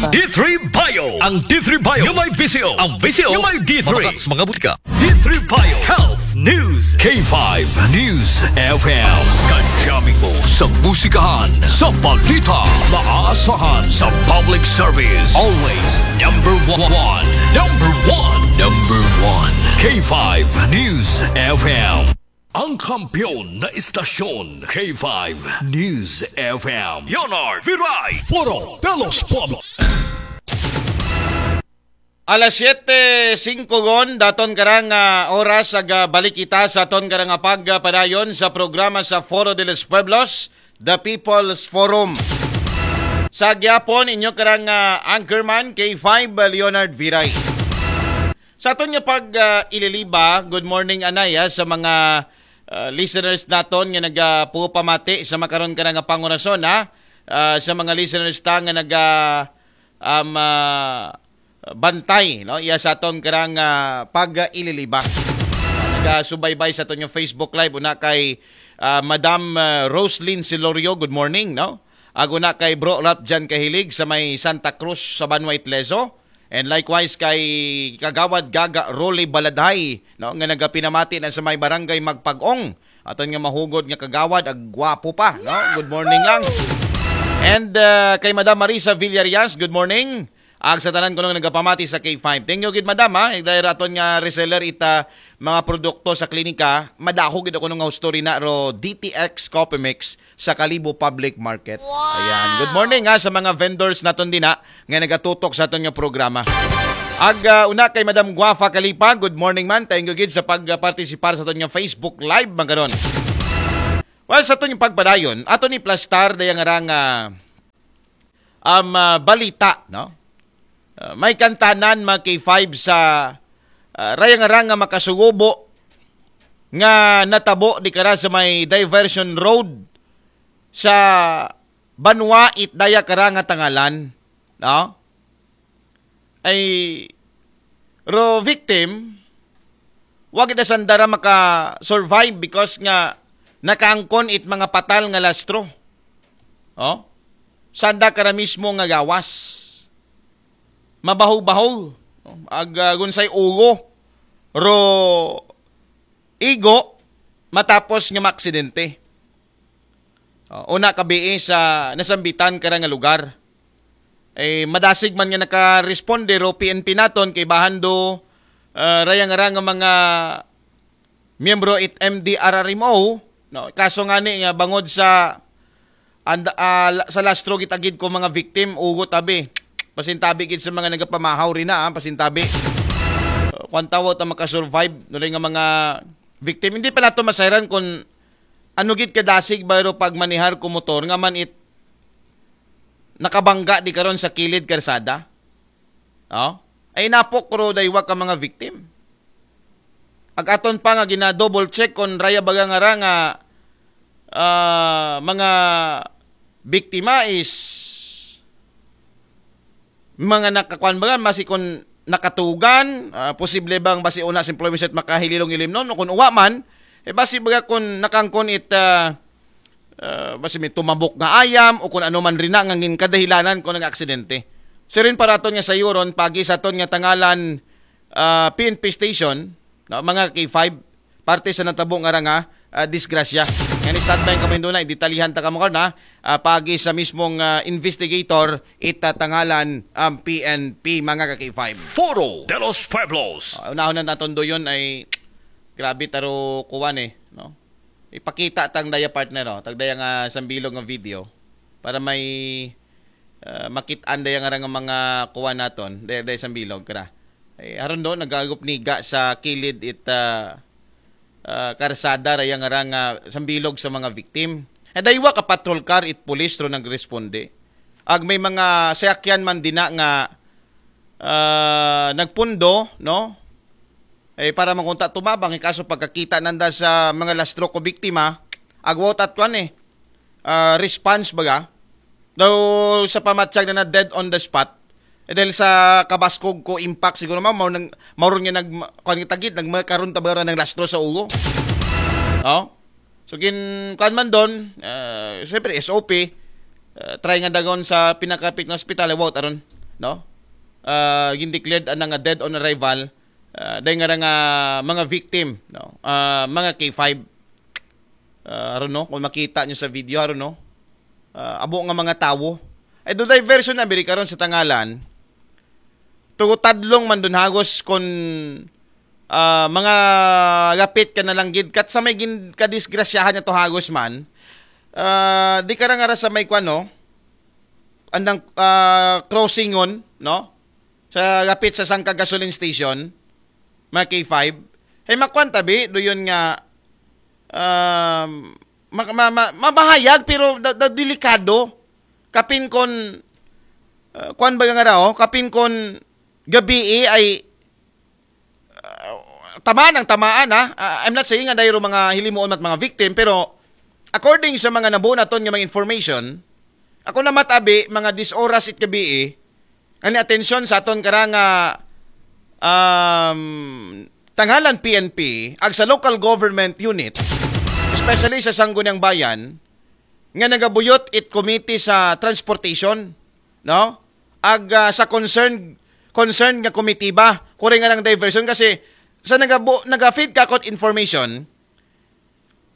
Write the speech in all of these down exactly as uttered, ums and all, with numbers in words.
D three Bio. Ang D three Bio nga may V C O. Ang V C O nga may D three. Mabaka sa mga butika. D three Bio Health News. K five News F M. Kadyamin mo sa musikahan, sa balita, maasahan sa public service. Always number one. Number one. Number one. K five News F M. Ang kampiyon na istasyon, K five News F M. Leonard Viray. Foro de los Pueblos. Alas siyete singko gon, daton karang ah, oras ag ah, balik kita sa aton karang ah, pagpadayon sa programa sa Foro de los Pueblos, The People's Forum. Sa gyapon, inyo karang ah, anchorman, K five Leonard Viray. Sa aton nga pag ah, ililiba, good morning anay ah, sa mga ah, listeners naton nga nagapupamati sa makaron ka nga pangurason ha. Ah, sa mga listeners ta nga naga um, ah, bantay no iya sa aton karang ah, pag ililiba. Nagasubaybay sa aton nga Facebook Live una kay ah, Madam ah, Roslyn Silorio, good morning no. Ag una kay Bro Ralph Jan Kahilig sa may Santa Cruz sa Banwa Itleso. And likewise kay Kagawad Gaga Rolly Baladhay no nga nagapinamati na sa may barangay Magpag-ong. Aton nga mahugod nga kagawad ag gwapo pa no. Good morning lang. And uh, kay Madam Marisa Villarias, good morning. Ag sa tanan kuno nga nagapamati sa K five. Thank you gid madam ha. Dahil aton nga reseller ita mga produkto sa klinika, madaho gid ako nung story na ro D T X Coffee Mix sa Kalibo Public Market. Ayan. Good morning ha sa mga vendors naton din ha nga nagatutok sa aton nga programa. Ag ah, una kay Madam Guafa Kalipa, good morning man. Thank you gid sa pagpartisipar sa aton nga Facebook Live man karon. Well, sa aton nga pagpadayon, ato ni plastar dayang arang ah, um, ah, balita, no? Ah, may kantanan mga K five sa ah, rayang arang nga makasugubo nga natabo di kara sa may diversion road sa Banwa it daya kara nga tangalan, no? Ay ro victim wa gid sanda ra maka-survive because nga nakaangkon it mga patal nga lastro. Oh? Sanda kara mismo nga gawas. Mabaho-baho. Ag uh, gunsay ugo ro igo matapos nga maaksidente. Uh, una kabii sa nasambitan kara nga lugar. Eh, madasig man nga nakaresponde ro P N P naton kay bahando uh, rayang nga mga miyembro it M D R R M O, no? Kaso nga ni nga bangod sa and, uh, sa lastro gitagid ko mga victim, ugot abi. Pasintabi gid sa mga nagapamahaw rin na, ah, pasintabi. Uh, kwan tawo ta makasurvive, no nga mga victim. Hindi pa nato masayran kung ano gid kadasig bayro pagmanihar ko motor nga man it nakabangga di karon sa kilid karsada. Oh? Ay napok ro daywa ka mga victim. Ag aton pa nga gina-double check kon raya baga nga ra nga ah, mga biktima is mga nakakuan baga, basi kon nakatugan, ah, posible bang basi una simplemente makahililong ilim no, no kun uwa man, eh basi baga kun nakangkon it ah, ah, basi may tumabok nga ayam o kun ano man rin na nga ngin kadahilanan ko nag aksidente. Sirin para aton nga sayuron pagi sa aton nga tangalan ah, P N P station, no, mga K five, parte sa natabo nga ra nga ah, disgrasya. Yan standby kamo hinduna, idetalihan ta kamo karon ha. Ah, pagi sa mismong ah, investigator itatangalan ang P N P mga ka K five. Foro de los Pueblos. Ah, unahon na naton doyon ay grabe taro kuwan eh, no? Ipakita tang daya partner oh, tag daya nga sambilog nga video para may ah, makit-an daya nga ra nga mga kuwan naton, daya, daya sambilog kara. Eh, haron do nagagop niga sa kilid it ah, ah, karsada raya nga ra nga sambilog sa mga victim. Eh, daywa ka patrol car it pulis ro nagresponde. Ag may mga sayakyan man dina nga ah, nagpundo, no? Eh, para makunta tumabang, eh, kaso pagkakita nanda sa mga lastro ko biktima, agwat at kwan eh, ah, response baga. Daw sa pamatsag na na dead on the spot. Eh, dahil sa kabaskog ko impact siguro mao mao nang mauron nga nag kuan nga tagid nagmakaron tabara ng lastro sa ulo. Oh? So gin kuan man doon, uh, siyempre S O P, uh, try nga dagon sa pinakapit nga ospital, eh, wow, aron no? Ah, gin-declared ana nga dead on arrival, ah, dahil nga ra nga mga victim, no? Ah, mga K five. Ah, aron, no, kung makita nyo sa video, aron, no? Ah, abo nga mga tawo. Ay, do diversion na biri karon sa Tangalan. Tugo tadlong man dun hagos kon, ah, mga gapit ka na lang gid. Kat sa may gin-, kadisgrasyahan niya to hagos man. Ah, di ka ra nga ra sa may kwan, no? Andang, ah, crossingon, no? Sa gapit sa Sangka Gasoline Station, mga K five. Hey, makwan tabi, do yun nga, um, ma-, ma-, ma-, mabahayag, pero da, da, delikado. Kapin kon, uh, kwan ba nga raw? Kapin kon gabi ay, uh, tamaan ang tamaan, ha? Uh, I'm not saying nga dayro mga hilimuon mat mga victim, pero according sa mga nabuo naton nga mga information, ako na matabi, mga dis oras it gabi, ani atensyon sa aton kara nga, um, Tangalan P N P, ag sa local government unit, especially sa Sangguniang Bayan, nga nagabuyot it committee sa transportation, no? Ag, ah, sa concern, concern nga komitiba, kuri nga ng diversion kasi sa nagabu-, naga-feed ka kot information,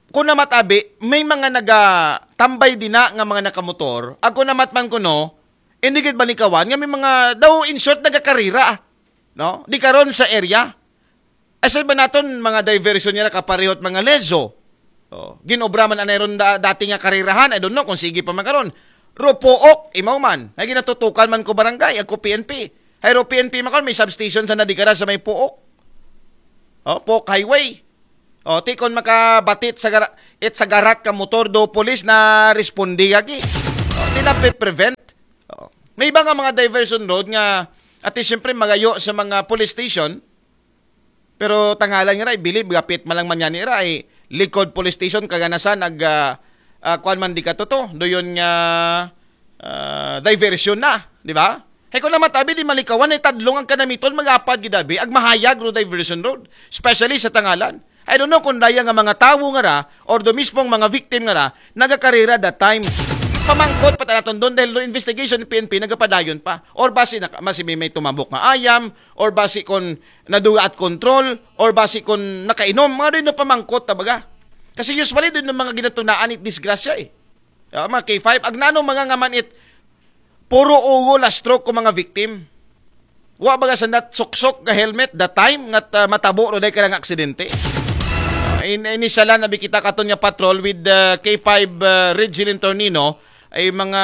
kung namat abi, may mga nagatambay din na nga mga nakamotor, ag kung namat man kuno, hindi gid balikawan nga may mga daw in short nagakarira, no? Di karon sa area. Asal ba naton mga diversion niya nakaparehot mga lezo? Oh, ginobra man anay ron da, dati nga karirahan, I don't know kung sige pa man karon. Ro Pook, imaw man. Ay ginatutukan man ko barangay, ako P N P. Ay ro P N P man karon, may substation sa nadikara sa may Pook. Oh, Pook Highway. Oh, ti kon makabatit sa gara-, it sa garat ka motor do police na respondi gagi. Oh, ti na prevent. Oh. May iba nga mga diversion road nga ati siyempre magayo sa mga police station. Pero Tangalan nga ra, I believe, gapit man lang man yan ra, ay likod police station, kaganasan, ag, ah, ah, kuan man di ka to, to. Do yun nga, ah, diversion na, di ba? Hay ko na matabi, di malikawan, ay tadlong ang kanamiton, mag-apad gidabi, ag mahayag ro diversion road, especially sa Tangalan. I don't know kung daya nga mga tawo nga ra, or do mismong mga victim nga ra, nagakarera that time. Pamangkot pa tanaton doon dahil do investigation ng P N P nagapadayon pa. Or basi na, masi may, may tumabok nga ayam, or basi kon naduga at control, or basi kon nakainom, mga doon na pamangkot, tabaga. Kasi usually doon ng mga ginatunaan it disgrasya eh. Ah, mga K five, agnano mga nga man it, puro ugo la stroke ko mga victim. Wa baga sa nat suksok nga helmet that time nga, ah, matabo ro day ka nga aksidente. Ah, in, inisyalan na bikita katon nga patrol with, ah, K five, ah, Regilin Tornino ay mga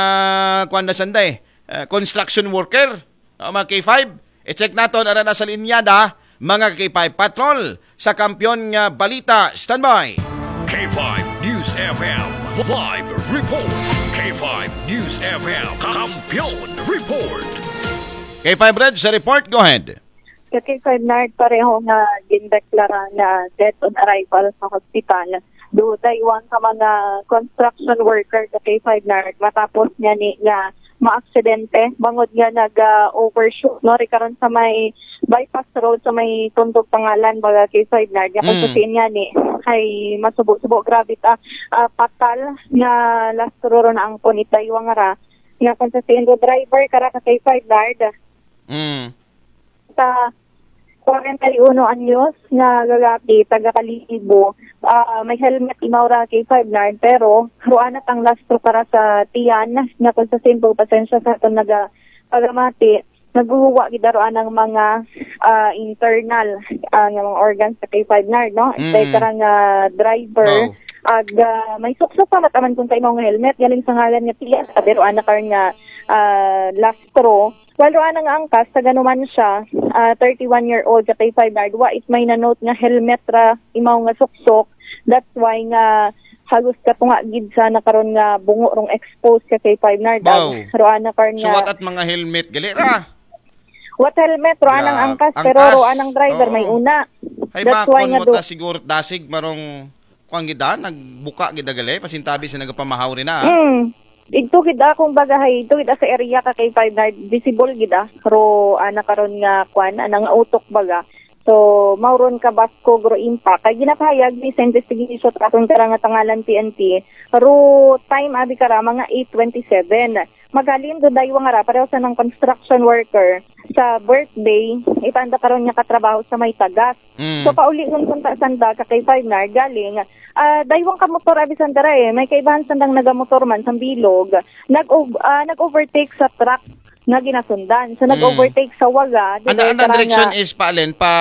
kuan na sanday, ah, construction worker. Ah, mga K five, i-check naton ara na sa linyada, mga K five Patrol, sa Kampiyon nga Balita. Standby. K five News F M live report. K five News F M Kampiyon report. K five Red sa report, go ahead. Sa K five Nard, pareho nga gindeklara nga dead on arrival sa hospital. Duday one ka mga construction worker sa K five Nard matapos niya ni nga maaksidente bangod nga nag-overshoot, no, ri karon sa may bypass road sa may Tundog Tangalan, baga K five Nard. Nga kung Mm. Sa niya ni ay masubo-subo, grabe ta, ah, patal nga lastro ro na ang punit daywang ra. Nga kung sa sino driver kara ka K five Nard. Mm. Sa kwarenta y uno anyos nga lalaki, taga Kalibo, ah, may helmet imaw ra K five Nard, pero ruana tang lastro para sa tiyan nga kung sa simple pasensya sa aton naga pagamati, naguhuwa gid aro anang mga, ah, internal, ah, nga mga organs sa K five Nard, no? Mm. Kay karang, ah, driver, Wow. Ag, ah, may suksok pa mataman kung sa imong helmet, galing sa ngalan nga tiyan, pero ana karon nga, ah, lastro. Well, ruana nga angkas, taga Numancia, ah, thirty-one year old sa K five Nard, wa it may na-note nga helmet ra imaw nga suksok. That's why nga halos katunga gid sa nakaron nga bungo rong expose sa K five Nard. Wow. Ag, ruana karon So, nga what at mga helmet gali ra? What helmet? Ruanang Gra-, angkas, pero angkas. Ruanang driver, Oo. May una. Ay, That's why makon nga mo do- ta siguro dasig marong kuan gid, ah, nagbuka gid gali, pasintabi sa nagapamahaw rin, ah. Mm. Igto gid, ah, kung baga, hay, igto gid, ah, sa area ka K five Nard, visible gid, ah. Ro, ana karon nga, kuan, ana nga utok baga. So, mauron ka basko, gro impact. Kay ginapahayag ni sa investigation sa atong karang nga Tangalan P N P, Ru time abi kara mga eight twenty-seven. Maghalin do daywang ara pareho sa ng construction worker sa birthday, itanda karon nga katrabaho sa may tagas. Mm. So paulion kunta sanda ka K five Nard galing, ah, daywang ka motor abi sanda ra eh. May kaibahan sandang nagamotor man sa bilog, nag ah, nag-overtake sa truck nga ginasundan. So nag-overtake sa waga, Ang dito ang karang, direction ah, is paalen pa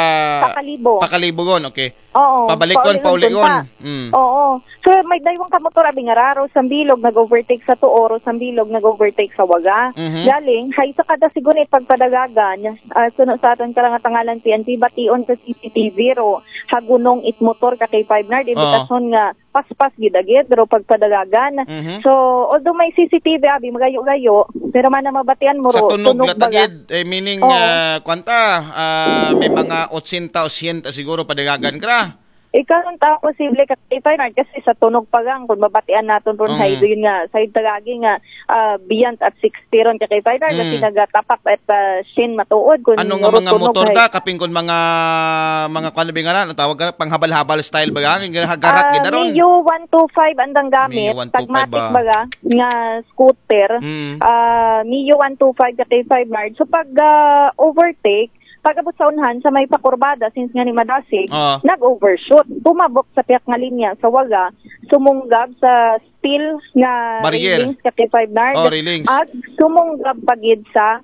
Pakalibo. Pakalibogon, okay. Oo, Pabalikon, paulion paulion. punta. Mm. Oo. So may daywang ka motor abi nga raro sa bilog nag-overtake sa tuo, ro sa bilog nag-overtake sa waga. Mhm. Galing hay sa kada sigunit pagpadagagan, ah, suno sa aton karangatangalan P N P bation sa C C T V ro hagunong it motor ka K five Nard, indikasyon nga paspas gid agid ro pagpadagagan. Mhm. So although may C C T V abi magayo-gayo, pero mana mabatian mo ro Sa tunog tunog baga. latagid, eh, meaning Oo. ah, kwanta, ah, may mga ochenta, ochenta siguro padagagan kra. Ikaw ta posible ka K five Nard kasi sa tunog pa gang kung mabatian naton ron Mm. hay yun nga sa tagagi nga ah, beyond at sixty ron ka K five Nard kasi Mm. nagatapak at ah, shin matuod kung Ano nga ro mga tunog motor hay. Da? Kapin kun mga mga kuan ba nga na tawag ka panghabal-habal style ba? Ang garat Ah, gid ron. Mio one two five andang gamit, Mio one two five tagmatic ba? Baga, nga scooter. Mm. Ah, Mio one two five ka K five Nard. So pag ah, overtake, pag abot sa unhan sa may pakurbada since nga ni madasig, Ah. nag-overshoot. Tumabok sa piyak nga linya sa waga, sumunggab sa steel nga Barrier. railings ka K five Nard. Oh, railings. At sumunggab pagid sa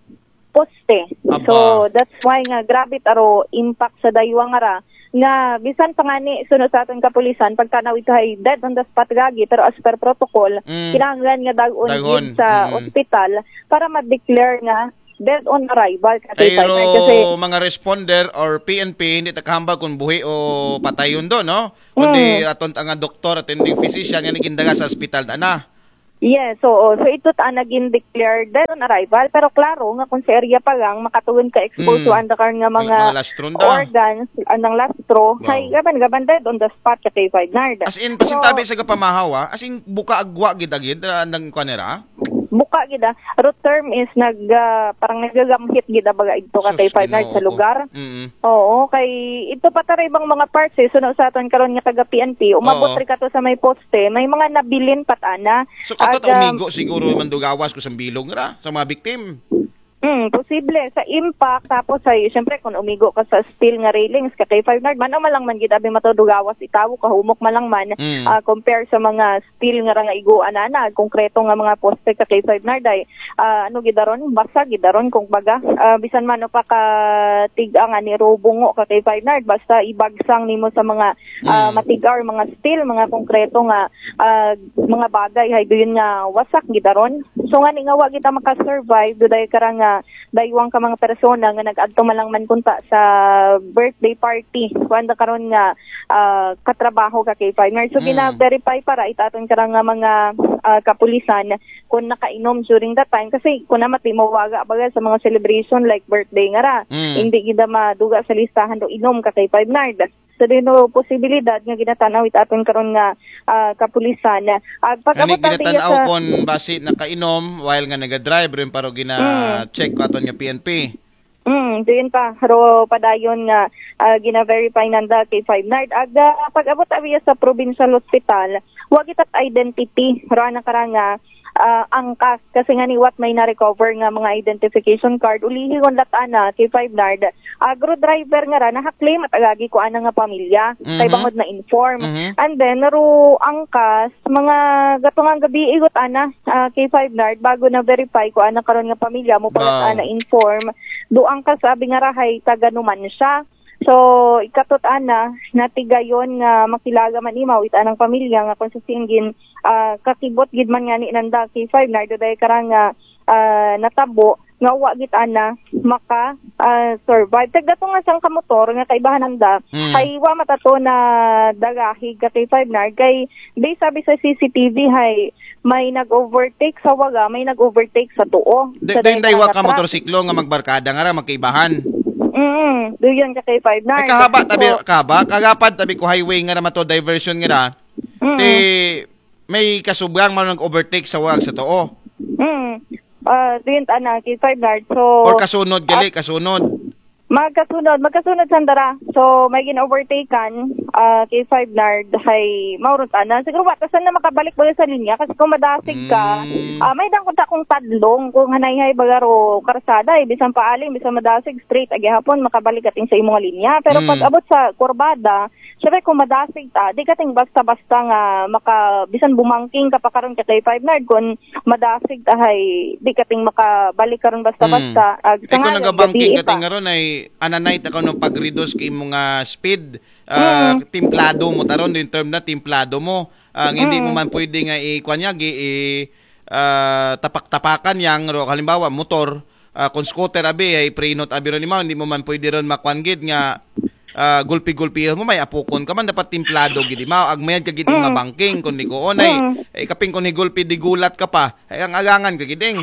poste. Aba. So that's why nga grabe taro impact sa daywang ara nga bisan pa ngani suno sa aton kapulisan pagtanaw ito ay dead on the spot gagi pero as per protocol Mm. kinahanglan nga dagon Dagon. Gid sa Mm. ospital para ma-declare nga dead on arrival ka Pero K five Nard kasi mga responder or P N P hindi ta kahambal kung buhi o patay yun do, no? Kundi Mm. aton ta nga doktor, attending physician nga nigindaga sa ospital ta na. Yes, oo. So ito ta naging declared dead on arrival pero klaro nga kung sa area pa lang makatuon ka expose Mm. to anda karon nga mga, Mga lastron da. organs andang lastro Wow. hay gaban gaban dead on the spot ka K five Nard. As in, pasintabi sa kapamahaw, ah. As in, buka agwa gid agid, ah, nang kuan nira? Buka gid ah. Root term is nag ah, parang nagagamhit gid ah, baga ito ka Sus, K five Nard sa Ginoo ko. lugar. Mm-mm. Oo, kay ito pa taray bang mga parts eh, suno sa aton karon nga taga P N P, umabot Oo. ri kato sa may poste, may mga nabilin pat ana. So, kato Aga- umigo siguro man dugawas ko sa bilog ra sa mga victim. Hmm, posible sa impact tapos ay syempre kung umigo ka sa steel nga railings ka K five Nard man o malang man gid abi matudugawas itawo kahumok malang man Mm. ah, compare sa mga steel nga ra nga iguan ana konkreto nga mga poste ka K five Nard ay ah, ano gidaron basa gidaron kung baga ah, bisan man o pa ka tiga nga ni rubungo ka K five Nard basta ibagsang nimo sa mga ah, Mm. matiga or mga steel mga konkreto nga ah, mga bagay hay duyon nga wasak gidaron. So ngani nga wa kita maka-survive duday kara nga daywang ka mga persona nga nag-adto man lang man kunta sa birthday party kuan da karon nga ah, katrabaho ka K five Nard. So Mm. gina-verify para itaton kara nga mga ah, kapulisan kung nakainom during that time kasi kung namat di mawaga baga sa mga celebration like birthday nga ra. Mm. Hindi gida maduga sa listahan do inom ka K five Nard. So dino posibilidad nga ginatanaw itaton karon nga ah, kapulisan. Ag Ngani pag-abot natin ginatanaw sa kon basi nakainom while nga nagadrive rin pero gina-check ko aton nga P N P. Mm, diyon pa, ro padayon nga ah, gina-verify nanda kay five Nard. Aga pag-abot abiya sa provincial hospital, wa kita identity, ro na karanga ah, angkas kasi nga niwat may na-recover nga mga identification card. Ulihi kon latana kay five Nard, agro driver nga ra nahaklim at agagi ko ana nga pamilya kay Mhm. bangod na inform. Mhm. And then ro angkas mga gatungang gabi igot ana ah, kay five Nard bago na verify ko ana karon nga pamilya mo pala Wow. ana inform. Do angkas abi nga rahay taga Numancia. So ikatot ana natigayon nga makilaga man imaw it anang pamilya nga kung sa singgin ah, kakibot gid man nga ni nanda kay five Nard do day karang nga ah, natabo nga wa gid ana maka ah, survive. Tagdato nga sang kamotor nga kaibahan nanda Mm. kay wa matato na dagahig ka kay five Nard kay based abi sa C C T V hay may nag-overtake sa waga, may nag-overtake sa tuo. Di, Sa di, di, daytang wa nga ka truck. Motorsiklo nga magbarkada nga ra magkaibahan. Mm, do yun ka kay five Nard. Ay, kahaba tabi, So, kahaba, kagapad tabi ko highway nga ra mato diversion nga ra. Mm. Ti may kasubrang man nag-overtake sa wag sa tuo. Mm. Ah, do yun ana kay five Nard. So, Or kasunod gali, kasunod. Magkasunod, magkasunod sanda ra. So, may gin-overtaken, ah, K five Nard, hay, mao ron tana. Siguro, wa ta sanda makabalik ba sa linya? Kasi kung madasig ka, Mm. ah, may dangkot akong tadlong, kung hanay-hay baga ro karsada, eh, bisan paaling, bisan madasig, straight, agi hapon, makabalik ating sa imong linya. Pero pag Mm. abot sa kurbada, syempre, kung madasig ta, di kating basta-basta nga maka, bisan bumangking ka pa karon ka K five Nard, kung madasig ta, hay, di kating makabalik karon basta-basta. Mm. Ag, Eh, kung nga, nagabangking gabi ka pa. ting aron ay ananay ta kuno pag-reduce kay imong, ah, speed, ah, Mm. timplado mo taron, yung term na timplado mo. Ang hindi mo Mm. man pwede nga i-, kuwan niya, gi-, i-, ah, tapak-tapakan yang ro, halimbawa, motor, ah, kung scooter, abi, ay prinot, abi ron imaw, hindi mo man pwede ron makwan gid nga, ah, gulpi-gulpihon mo, may apukon ka man, dapat timplado gid imaw, agmayad ka gid Mm. mabangking, kung di ko, onay, Mm. eh, kaping kung higulpi digulat ka pa, ay ang alangan ka giding.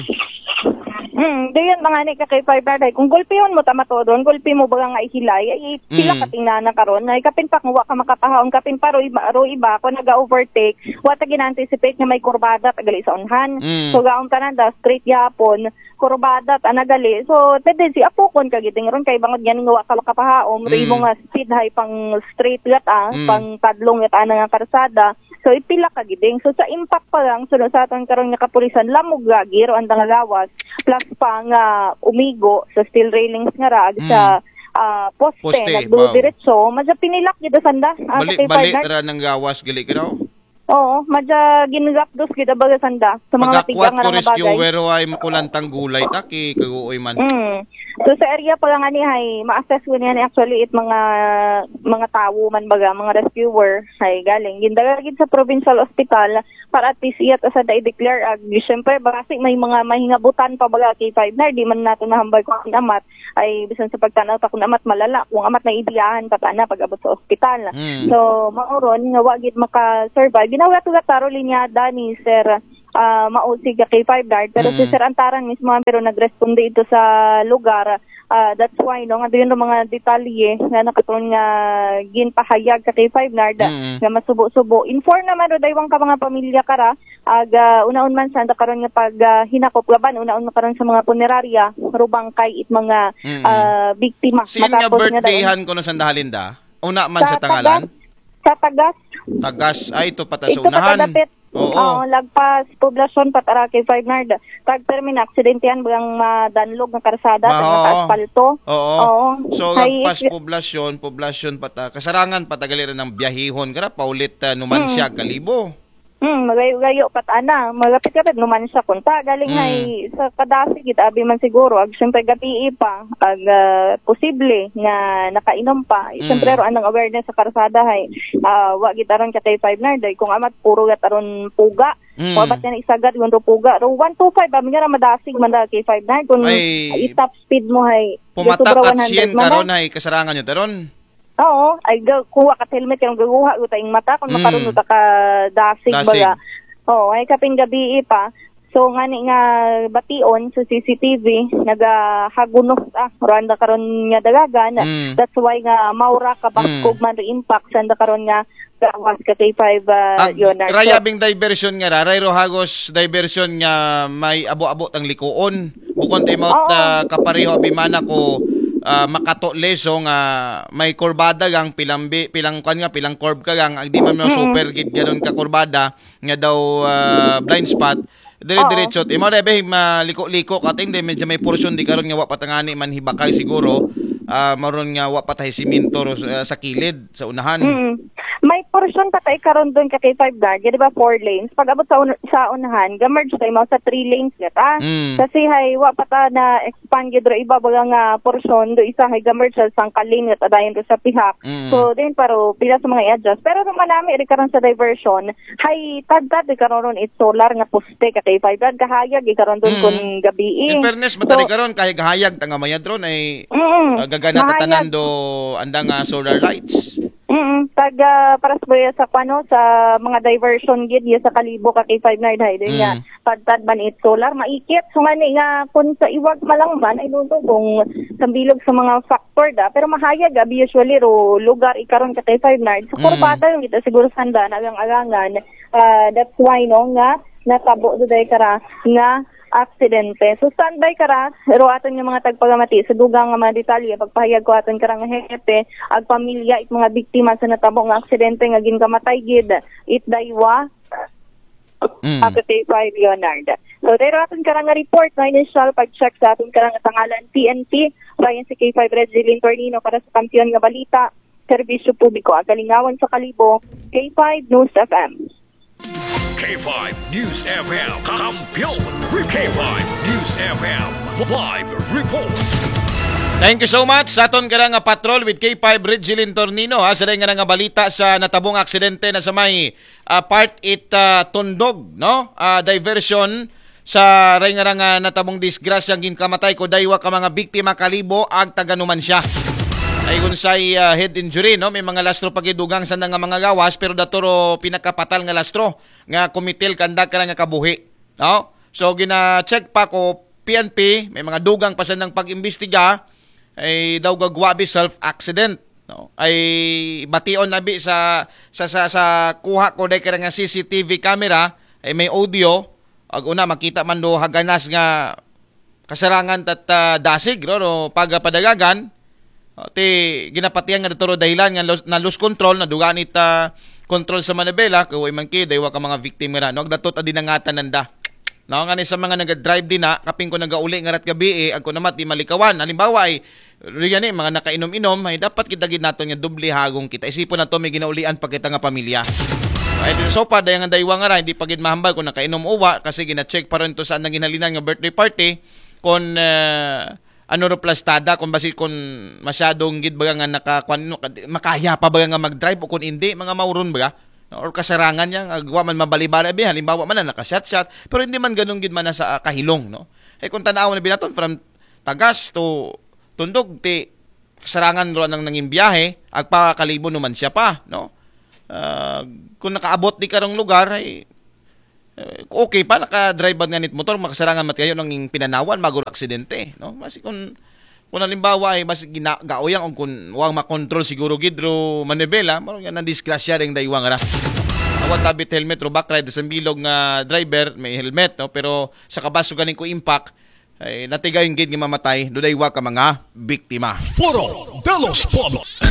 Hmm, dayon mga ni ka K five Nard, ay, kung gulpihon mo ta matodon, gulpi mo ba nga ihilay, ay pila Mm. ka tingnan na karon, ay kapin pa kung wa ka makapahaon, kapin pa ro iba, ro iba, kung naga-overtake, wa ta gina-anticipate nga may kurbada, tagali sa unhan. Mm. So, gaon tanan da, straight yapon, kurbada, ta nagali. So, tendency, apukon ka giding ron, kay bangod yan nga wa ka makapahaon, ro Mm. imo nga speed hay pang straight gat, ah, Mm. pang tadlong gat, ana nga karsada. So, ipila ka giding. So, sa impact pa lang, so, sa aton karon nga kapulisan, lamog lagi ro ang nga gawas, plus pa nga umigo sa steel railings nga rag Mm. sa ah, poste, Poste, nagdudiretso, madya pinilak gid sanda. Ah, Bali, sa K five bali, Nard. Ra nang gawas, gali ka daw. Oo, madya ginlakdos gid baga sanda. Sa mga Pagakwat tigang ko nga mga bagay. Rescuer, ay makulantang gulay, taki, kaguoy man. Mm. So, sa area pa lang ani, hay, ma-assess ko niya ni actually it mga, mga tawo man baga, mga rescuer, hay, galing. Gindala gid sa provincial hospital, para at least iyat asa da i-declare. Ag, syempre, basi may mga mahingabutan pa baga K five Nard, di man nato nahambal kung ang amat, ay, bisan sa pagtanaw ta kung amat malala, kung amat na ibiyahan pa tana pag abot sa ospital. Mm. So, mao ron, nga wa gid maka-survive. Ginawat-ugat taro linyada ni Sir, ah, Mausig ka K five Nard, pero si Mm. Sir Antaran mismo, pero nagresponde ito sa lugar. Ah, that's why, no, nga doon mga detalye nga nakaton nga ginpahayag ka K five Nard, Mm. nga masubo-subo. Inform naman ro daywang ka mga pamilya kara, ag, ah, unaon man sa karon nga pag, ah, hinakop laban, unaon man karon sa mga punerarya, rubang kay it mga, Mm. ah, biktima. Siin nga Matapos nga birthdayhan ko no sanda, Halinda? Una man sa, Sa tangalan? Tagas. Sa Tagas. Tagas, ay, ito pa ta sa Ito pa unahan. kadapit. Oo. Oo, lagpas poblasyon pa tara kay Five Nard. Tag termina, aksidente yan, bagang madanlog nga karsada, Ma-, tag oo. mataasfalto. Oo. Oo. So, Hay, lagpas is- poblasyon, poblasyon pa ta. Kasarangin pa ta gali ra ng biyahihon, kara, paulit, ah, Numancia, Mm. Kalibo. Hmm, magayo-gayo pa tana. Magapit-kapit, Numancia kung ta. Galing Mm. hay sa kadasig, gid abi man siguro. Ag, syempre, gabi pa. Ag, ah, posible nga nakainom pa. Mm. Syempre, ro anang awareness sa karsada hay. Ah, wa gid aron ka kay Five Nard. Ay, kung amat, puro gat aron puga. Mm. Wa bat nga isagad, kung puga. Ro one two five, abi nga ra madasig man da kay Five Nard. Kung Ay, i-top speed mo hay, Pumatak sobra at one hundred sien man da. Karon ay kasarangin nyo taron. Oo, ay ga-, kuha ka helmet, yung gaguha, utang mata, kung Mm. makaroon uta ka dasig, Dasig. Baga. Oo, ay kaping gabi pa. So, nga ni nga bation sa C C T V, nagahagunos, ah, Rwanda karon nga dalagan. Mm. That's why nga maura ka baskog Mm. man ri impact, sanda karon nga gawas ka kay Five, ah, Ag-, Leonard. So, rayabing diversion nga ra, rayro hagos diversion nga may abo-abo tang likuon. Bukon tayo maut, Oo. ah, kapareho abimana ko, ah, makato leso nga may kurbada gang pilambi, pilang kwan nga, pilang curve ka gang, agdi man mo Mm-mm. super gid ganon ka kurbada, nga daw, ah, blind spot. Dire-diretso, imo rebe, maliko-liko ka ting, di medyo may portion di karon nga wa patangani man hibakay siguro, ah, maron nga wa patay siminto ro, ah, sa kilid, sa unahan. Mm. May portion pa tayo karon doon ka kay Five Nard, di ba, four lanes. Pag abot sa un-, sa unahan, ga-merge tayo mo sa three lanes nga ta. Mm. Kasi hay, wa pa ta na expand gid ro iba baga nga portion do isa hay ga-merge sa sangka lane nga ta dayon do sa pihak. Mm. So, din paro pila sa mga i-adjust. Pero kung manami ri karon sa diversion, hay tadtad di karon ron it solar nga poste ka kay Five Nard, kahayag di karon doon Mm. kung gabi. In fairness, So, matari karon, kahayag-hayag, tanga mayad ron ay, Mm. ah, gagana Mahayag. tatanan do andang, ah, solar lights. Mm, taga paras ba sa kwano sa mga diversion gid ya sa Kalibo ka kay Five Nard hay din nga Mm. tadtad man it solar maikit. So nga ni nga kung sa iwag malang man ay luto kung sambilog sa mga factor da, pero mahayag abi usually ro lugar ikaron ka kay Five Nard sa Mm. kurbada yung ito siguro sanda nagang-agangan. Ah, that's why, no, nga natabo do day kara nga aksidente. So, standby kara, pero aton nga mga tagpagamati sa dugang nga mga detalye, pagpahayag ko aton karang hepe, ag pamilya, it mga biktima sa natabo nga aksidente nga ginkamatay gid, it daywa, Mm. Ako si Five Leonard. So, dahil aton karang report, no, initial pag-check sa aton karang tangalan P N P, Ryan si K five Red Zilin Tornino para sa kampiyon nga balita, serbisyo publiko, ag kalingawan sa Kalibo, K five News F M. K five News F M. Kampiyon. K five News F M. Live report. Thank you so much sa aton karang patrol with K five Red Zilin Tornino, ha, sa nga nga balita sa natabong aksidente na sa may ah, part it ah, Tundog, no? Ah, diversion sa ray nga nga natabong disgrasyang ginkamatay ko daywa ka mga biktima, Kalibo ag taga Numancia. Ay unsay ah, head injury, no? May mga lastro pagidugang sa nga mga gawas, pero daturo pinakapatal nga lastro nga kumitil kanda ka nga kabuhi, no? So gina-check pa ko P N P, may mga dugang pa sa nang pag-imbestiga, ay daw gagwa bi self accident, no? Ay bation na bi sa sa sa, sa kuha ko dahil kaya nga C C T V camera, ay may audio, ag una makita man do haganas nga kasarangan tat ah, dasig, no, no, pagapadagagan. O, ti ginapatihan nga daturo dahilan nga los- na lose control, nadugaan it ah, control sa manibela, kay way man ki daywa ka mga victim nga, no, agdatot a dinangatan nanda. No, nga ni sa mga naga-drive din na, kaping ko nagauli nga rat gabi eh, ag ko namat di malikawan. Halimbawa ay, riyan eh, mga nakainom-inom, ay dapat kita gid naton nga doble hagong kita. Isipon nato may ginaulian pa kita nga pamilya. Ay, so pa, dayang ang daywa nga ra, hindi pa gid mahambal kung nakainom o wa, kasi gina-check pa rin to sa nang ginhalinan nga birthday party, kung ah, ano ro plastada, kung basi kung masyadong gid baga nga naka, kung ano, makaya pa baga nga mag-drive o kung hindi, mga mauron baga. No? Or kasarangan niya, nga wa man mabalibali, abi, halimbawa man na nakashot-shot, pero hindi man ganun gid man na sa ah, kahilong, no? Eh kung tanaw na binaton from Tagas to Tundog, ti kasarangan ro nang nanging biyahe, agpakalibo naman siya pa, no? Ah, kung nakaabot di karong lugar, ay eh, okay pa, nakadrive ba nga nit motor, makasarangan mat kayo nang pinanawan, maguro aksidente, no? Basi kung kung halimbawa ay basi gina, gauyang o kung wang makontrol siguro gid ro manibela, maro yan ang disgrasya ring daywang ra. Awan tabit helmet ro back ride sa bilog nga driver may helmet, no? Pero sa kabaso galing ko impact, ay natigayon gid nga mamatay, do daywa ka mga biktima. Foro de los Pueblos.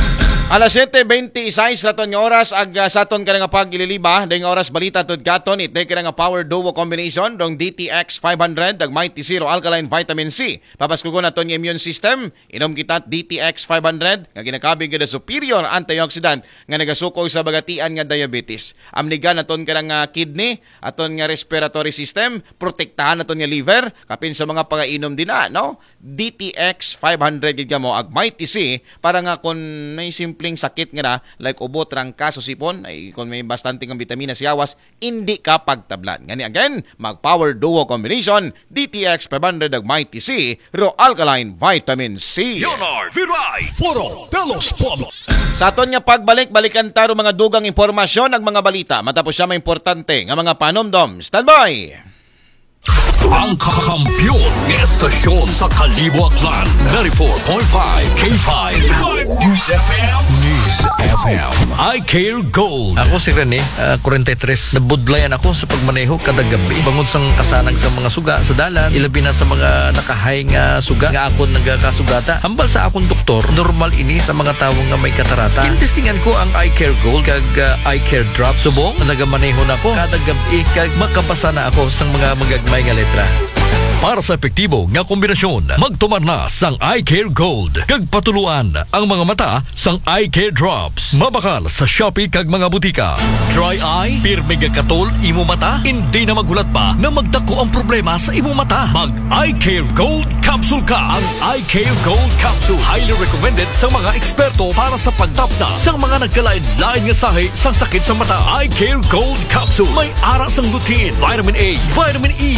Alas siyete bente y seis raton nga oras ag ah, sa aton ka nga pag-ililiba, dahil nga oras balita tod katon, it ka nga power duo combination, dong D T X five hundred, ag Mighty Zero Alkaline Vitamin C. Papaskugon naton nga immune system, inom kita D T X five hundred, nga ginakabig nga superior antioxidant, nga nagasukog sa bagatian nga diabetes. Amnigan naton ka nga kidney, aton nga respiratory system, protektahan naton nga liver, kapin sa mga pagainom din na, no? D T X five hundred gid kamo ag Mighty C para nga kung may simpleng sakit nga na, like ubo, trangkas o sipon, ay kung may bastante nga bitamina sa yawas, hindi ka pagtablan. Ngani again, mag power duo combination, D T X five hundred ag Mighty C, ro alkaline vitamin C. Leonard Viray. Foro de los Pueblos. Sa aton nga pagbalik, balikan taro mga dugang impormasyon ag mga balita. Matapos siya may importante nga mga panumdom. Standby! Ang kakampiyon ng estasyon sa Kalibo Aklan, ninety-four point five K five News F M. News F M. I Care Gold. Ako si Rene, ah, forty-three. Nabudlayan ako sa pagmaneho kada gabi. Bangod sang kasanag sa mga suga sa dalan, ilabi na sa mga nakahay nga suga nga akon nagakasugata. Hambal sa akong doktor, normal ini sa mga tawo nga may katarata. Gintestingan ko ang Eye Care Gold kag ah, Eye Care Drop. Subong, nagamaneho na ko kada gabi kag makabasa na ako sang mga magagmay nga letra. Para sa epektibo nga kombinasyon, magtumar na sang Eye Care Gold kag patuluan ang mga mata sang Eye Care Drops. Mabakal sa Shopee kag mga butika. Dry eye, pirmi nga katol imo mata, hindi na maghulat pa na magdako ang problema sa imo mata. Mag Eye Care Gold Capsule ka. Ang Eye Care Gold Capsule, highly recommended sa mga eksperto para sa pagtapna sa mga nagkalain-lain nga sahi sang sakit sa mata. Eye Care Gold Capsule. May ara sang lutein, vitamin A, vitamin E,